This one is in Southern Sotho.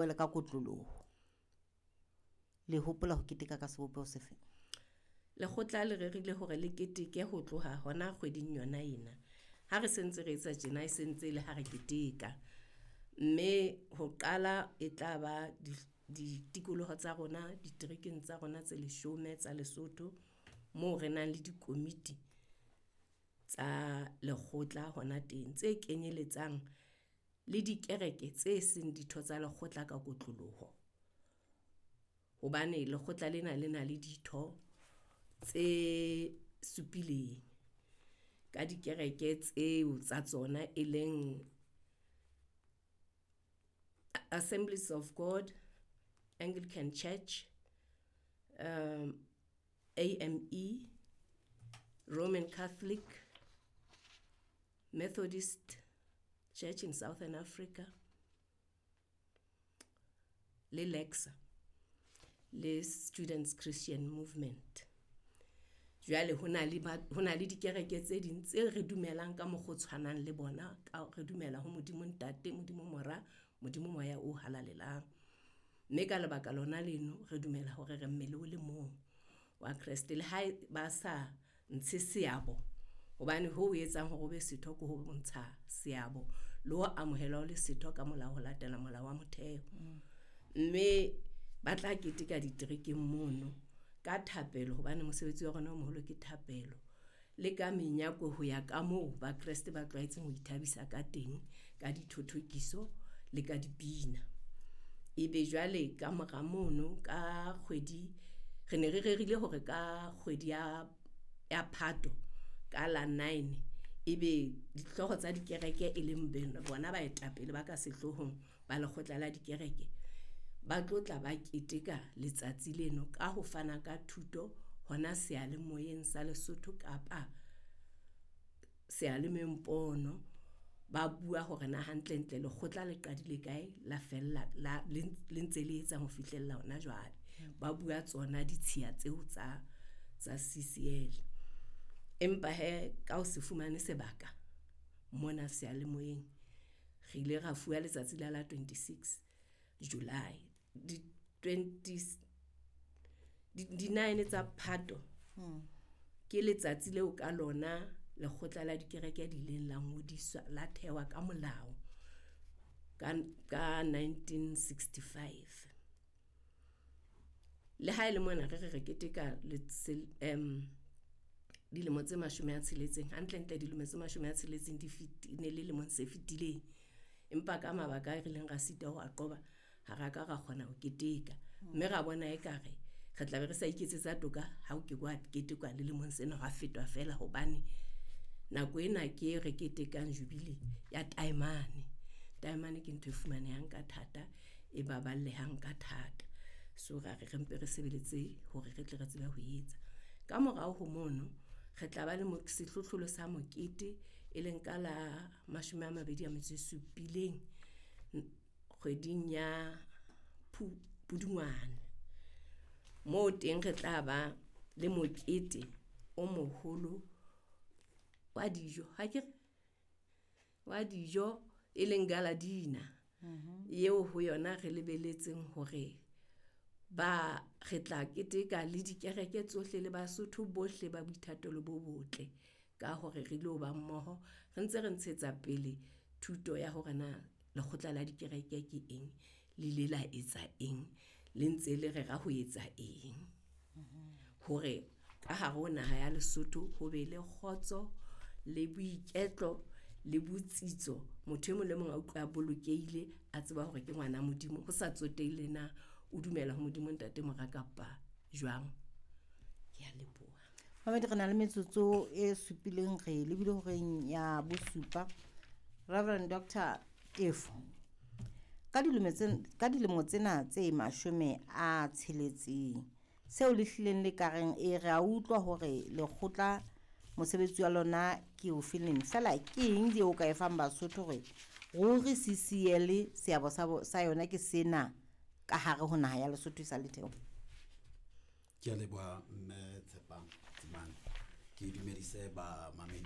Le ka kotloloho le hopola ho keteka ka sebopeho sefe? Lekgotla le rerile hore le keteke ho tloha hona kgweding yona ena. Ha re sentse re etsa tjena, e sentse le ha re keteka. Mme ho qala e tla ba ditikoloho tsa rona, diterekeng tsa rona tse 10 tsa Lesotho, moo re nang le dikomiti tsa lekgotla hona teng, tse kenyeletsang le dikereke tse seng ditho tsa lekgotla ka kotloloho. Hobane lekgotla lena le na le ditho tse supileng ka dikereke tseo tsa tsona e leng Assemblies of God, Anglican Church, AME, Roman Catholic, Methodist Church in Southern Africa, le LECSA, le Students Christian Movement. Jwale ho na le dikereke tse ding tse re dumelang ka mokgwa o tshwanang le bona, ka re dumela ho Modimo Ntate, Modimo Mora, Modimo Moya o Halalelang. Mme ka lebaka lona leno re dumela hore re mmele o le mong wa Kreste, le ha ba sa ntshe seabo, hobane ho etsang hore o be setho ke ho ntsha seabo le ho amohelwa o le setho ka molao ho latela molao wa motheo. Mme ba tla keteka diterekeng mono ka thapelo, hobane mosebetsi wa rona o moholo ke thapelo, le ka menyako ho ya ka moo Bakreste ba tlwaetseng ho ithabisa ka teng, ka dithothokiso le ka dipina. Ebe jwale ka mora mono ka kgwedi, re ne re rerile hore ka kgwedi ya Phato ka la 9 ebe dihlooho tsa dikereke e leng bona baetapele ba ka sehloohong ba lekgotla la dikereke ba tlotla ba keteka letsatsi leno ka ho fana ka thuto hona seyalemoyeng sa Lesotho kapa seyalemoyeng pono. Ba bua hore na hantlentle lekgotla le qadile kae, la fella le ntse le etsa ho fihlella hona jwale. Ba bua tsona ditshiya tseo tsa CCL. Empa he ka ho se fumane sebaka mona seyalemoyeng, re ile ra fuwa letsatsi la 26 July. Di 9 tsa Phato ke letsatsi leo ka lona lekgotla la dikereke di ileng la ngodiswa, la thewa ka molao ka 1965. Le ha e le mona re keteka dilemo tse 60, hantlentle dilemo tse 60 di ne le lemong se fetileng, empa ka mabaka a rileng ra sita ho a qoba, ha ra ka ra kgona ho keteka. Mme ra bona ekare re tla be re sa iketsetsa toka ha o ke wa ketekwa le lemong sena, hwa fetwa feela, hobane nako ena ke re ketekang jubilee ya taemane. Taemane ke ntho e fumanehang ka thata, e baballehang ka thata. So ra re mpe re sebeletse hore re tle re tsebe ho etsa. Ka morao ho mono re tla ba le sehlohlolo sa mokete e leng ka la 27 kgweding ya Pudungwane. Moo teng re tla ba le mokete o moholo wa dijo, ha ke re wa dijo e leng gala dina, eo ho yona re lebeletseng hore ba re tla keteka le dikereke tsohle le Basotho bohle ba boithatelo bo botle, ka hore re lo ba mmoho re ntse re ntshetsa pele thuto ya hore na lekgotla la dikereke ke eng, le ile la etsa eng, le ntse le rera ho etsa eng, hore ka hare ho naha ya Lesotho ho be le kgotso le boiketlo le botsitso. Motho e mong le mong a utlwa a bolokehile, a tseba hore ke ngwana Modimo, ho sa tsotelle na o dumela ho Modimo Ntate Mora kapa jwang. Ke a leboha. Mamedi, re na le metsotso e supileng, re lebile horeng ya bosupa. Reverend Dr. Tefo, ka dilemo tsena tse 60 seo le hlileng le kareng e re a utlwa hore lekgotla mosebetsi wa lona ke o feleng, fela ke eng eo ka e fang Basotho hore ruri CCL seabo sa yona ke sena ka hare ho naha ya Lesotho e sa le theo? Ke a leboha mme Tshepang Tsimane, ke dumedise ba mamedi.